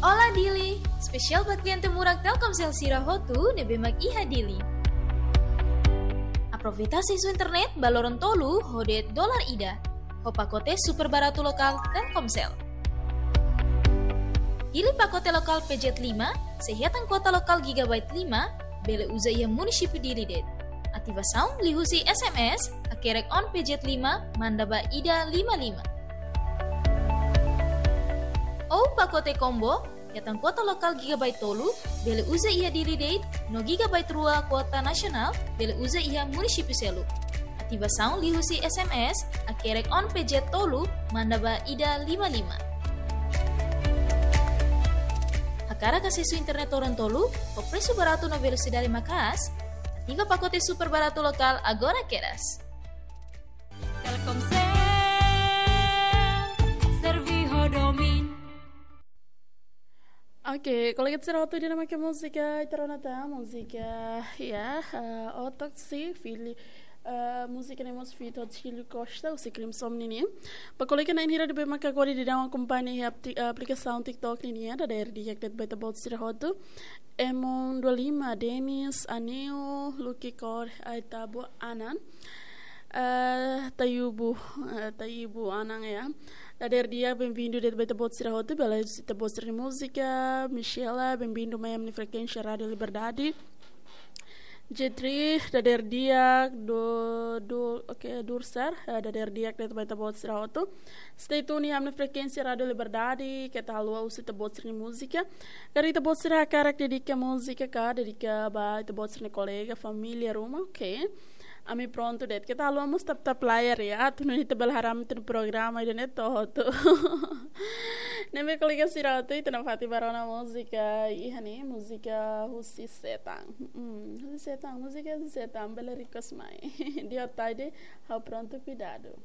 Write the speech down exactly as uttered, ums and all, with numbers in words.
Olá Dili, espesiál ba kliente murak Telkomsel sira hotu ne'ebé mak iha Dili. Aproveita asesu internet ba loron tolu ho de'it dolar ida, ho pakote super baratu lokál Telkomsel. Hili pakote lokál P Z lima, sei hetan kuota lokál gigabyte lima, bele uza iha munisípiu Dili de'it. Ativasaun liuhusi S M S, hakerek on P Z lima, manda ba ida lima lima. Ou pakote combo, hetan kuota lokál gigabyte tolu, bele uza iha Dili de'it, no gigabyte rua kuota nasionál, bele uza iha munisípiu seluk. Ativasaun liuhusi S M S, hakerek on P Z tolu, manda ba ida lima lima. Hakarak asesu internet loron tolu, ho presu baratu no velosidade maka'as, ativa pakote super baratu lokál agora kedas. Telkomsel, servi ho domin. Oke, kolega sira hotu, ida-ne'e mak múzika ita rona tan, múzika, ya, eh, Otoksi, fili, eh, múzika ne'e mós feat ho Tílio Costa, husi Crimson nian. Ba kolega na'in hira ne'ebé mak agora daudaun akompaña iha apli-, aplikasaun TikTok nian, dadeer di'ak de'it ba ita-boot sira hotu. Emon dua lima, Denis, Anil, Lucky Core, Aitabu, Anan. Eh, Tayubu, eh, Tayubu Anan ya. Dadeer di'ak, bem-vindo de'it ba ita-boot sira hotu, bele ita-boot sira-nia múzika, Michela, bem-vindo mai ami-nia frekuénsia Rádio Liberdade. Jetri, dadeer di'ak, do, do, oke, Dursar, eh, dadeer di'ak de'it ba ita-boot sira hotu. Stay tune iha ami-nia frekuénsia Rádio Liberdade, keta haluha husu ita-boot sira-nia múzika. Karik ita-boot sira hakarak dedika múzika ka, dedika ba ita-boot sira-nia kolega, família, ruma, oke. Ami prontu de'it, keta haluha mós tap-tap layar ya, atu nune'e ita bele haree ami-nia programa ida-ne'e to'o hotu. Ne'ebé kolega sira hotu, ita nafatin bá rona múzika iha ne'e, múzika Husi Setan. Mm, Husi Setan, múzika Husi Setan, bele request mai. Dia tarde, ha'u prontu, kuidadu.